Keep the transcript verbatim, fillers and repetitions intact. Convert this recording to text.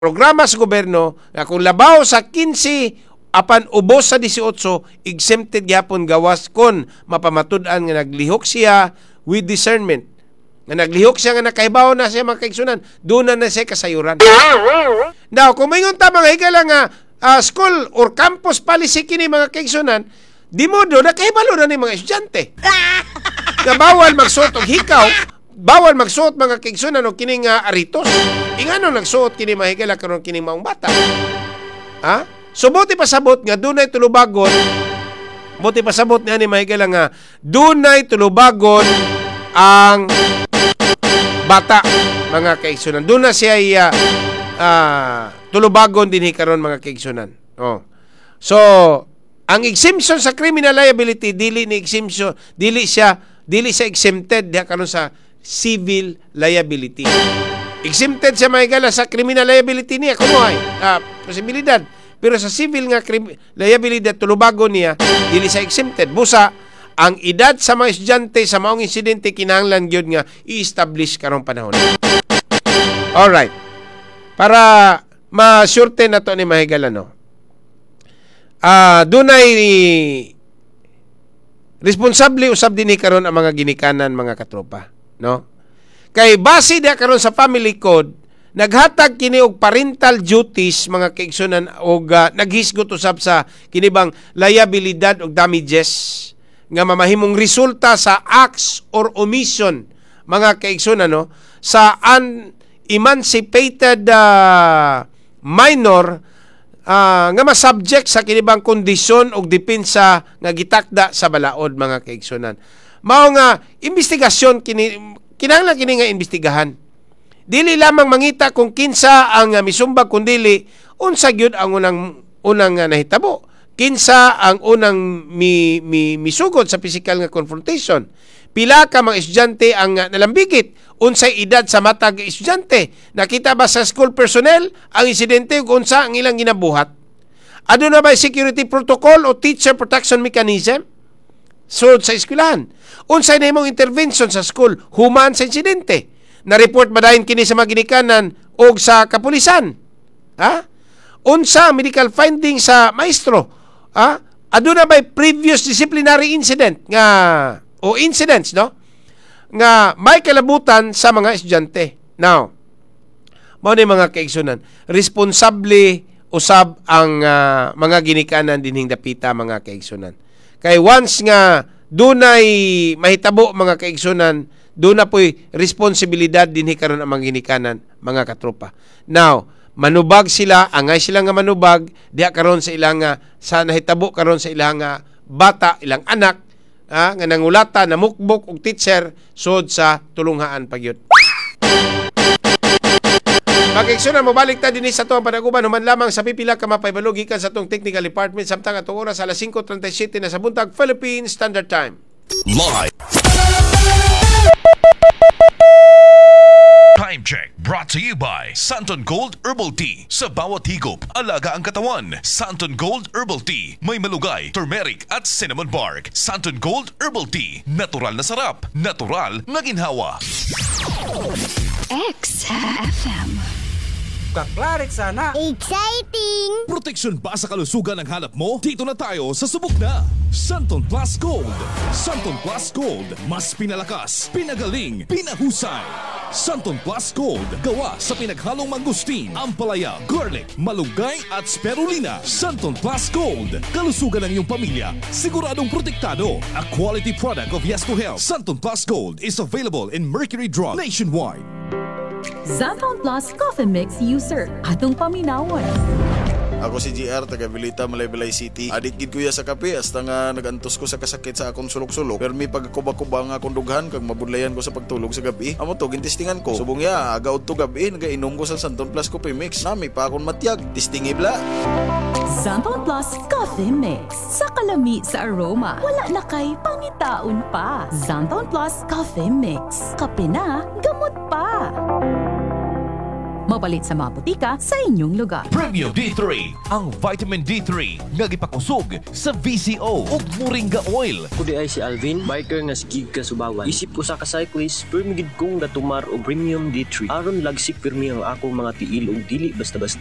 Programa sa gobyerno nga kung labaw sa kinse apan ubos sa labing-walo, exempted gyapon gawas kon mapamatud-an nga naglihok siya with discernment, nga naglihok siya nga nakahibaw na siya, mga kaigsunan, doon na na siya kasayuran. Now, kung moingon ta, mga higala, nga uh, school or campus policy kini, mga kaigsunan, di modo nakahibalo na ni mga estudyante nga bawal magsuot og hikaw, bawal magsuot, mga kaigsunan, og kining uh, aritos. Ingano nagsuot kini, mga higala, karon kining maong bata? Ha? So buot ipasabot nga dunay tulubagon, buot ipasabot niya ni, mga higala, nga dunay tulubagon ang bata, mga kaigsunan. Doon na siya uh, uh, tulubagon din karon, mga kaigsunan. Oh. So, ang exemption sa criminal liability, dili ni exemption, dili siya dili siya exempted diha karon sa civil liability. Exempted siya, mga higala, sa criminal liability niya kuno ay uh, posibilidad. Pero sa civil nga liability, tulubagon niya, dili siya exempted. Busa ang edad sa mga estudyante sa maong insidente kinahanglan gyud nga i-establish karong panahon. Alright. Para ma-surte na to ni, mga higala, no. Ah, uh, dunay responsable usab dinhi karon ang mga ginikanan, mga katropa, no? Kay base diha karon sa family code, naghatag kini og parental duties, mga kaigsunan, og uh, naghisgot usab sa kini bang liabilidad og damages nga mamahimong resulta sa acts or omission, mga kaigsunan, no, sa unemancipated uh, minor uh, nga masubject sa kinibang kondisyon og depensa nga gitakda sa balaod, mga kaigsunan. Mao nga investigasyon kini, kinahanglan kini nga imbestigahan. Dili lamang mangita kung kinsa ang uh, misumbag, kundili unsa gyud ang unang unang uh, nahitabo. Kinsa ang unang mi, mi, misugod sa physical nga confrontation? Pila ka mga estudyante ang uh, nalambigit? Unsay edad sa matag estudyante? Nakita ba sa school personnel ang insidente ug unsa ang ilang ginabuhat? Aduna ba security protocol o teacher protection mechanism sulod sa eskwelahan? Unsay nahimong intervention sa school human sa insidente? Na-report ba dayon kini sa mga ginikanan o sa kapulisan? Ha? Unsa ang medical finding sa maestro? Ha? Aduna ba previous disciplinary incident nga o incidents, no, nga may kalabutan sa mga estudyante? Now, mao ni, mga kaigsunan, responsable usab ang uh, mga ginikanan dinhing dapita, mga kaigsunan. Kay once nga dunay mahitabo, mga kaigsunan, duna po'y responsibilidad dinhi karon ang mga ginikanan, mga katropa. Now, manubag sila, angay sila nga manubag diha karon sa ilang sa nahitabo karon sa ilang bata, ilang anak, ah, nga nangulata, namukbok og teacher sud sa tulunghaan pagyud. Mga mobalik ta dinhi sa atong panaguban human lamang sa pipila ka mapahibalo gikan sa atong technical department, samtang atong oras alas singko trentay siyete na sa buntag, Philippine Standard Time. Live. Time check brought to you by Santon Gold Herbal Tea. Sa bawat higop, alaga ang katawan. Santon Gold Herbal Tea. May malunggay, turmeric at cinnamon bark. Santon Gold Herbal Tea. Natural na sarap. Natural na ginhawa. X F M. Kaklarik sana. Exciting! Proteksyon ba sa kalusugan ang hanap mo? Dito na tayo sa subok na. Santon Plus Gold. Santon Plus Gold. Mas pinalakas, pinagaling, pinahusay. Santon Plus Gold. Gawa sa pinaghalong mangosteen, ampalaya, garlic, malunggay at spirulina. Santon Plus Gold. Kalusugan ng iyong pamilya. Siguradong protektado. A quality product of Yes to Health. Santon Plus Gold is available in Mercury Drug nationwide. Xanthone Plus Coffee Mix user. Atong paminawon. Ako si G R, taga Vilita, Malaybalay City. Adik gid kuya sa kape, hasta nga nagantos ko sa kasakit sa akong sulok-sulok. Pero may pagkuba-kuba nga akong dughan kag mabudlayan ko sa pagtulog sa gabi. Amo to gintistingan ko. Subong ya, aga udto gabi nagainom ko sa Santon Plus Coffee Mix. Nami pa akong matyag. Tistingi bla. Xanthone Plus Coffee Mix. Sa kalami sa aroma, wala na kay pangitaon pa. Xanthone Plus Coffee Mix. Kape na, gamot pa. Mapalit sa mga botika sa inyong lugar. Premium D three, ang vitamin D three nga gipakusog sa V C O ug Moringa Oil. Ako diay si Alvin, biker nga sigig kasubawan. Isip usa ka cyclist, pirmi gid kong gatumar og Premium D three. Aron lagsik pirmi ang akong mga tiil ug dili basta-basta.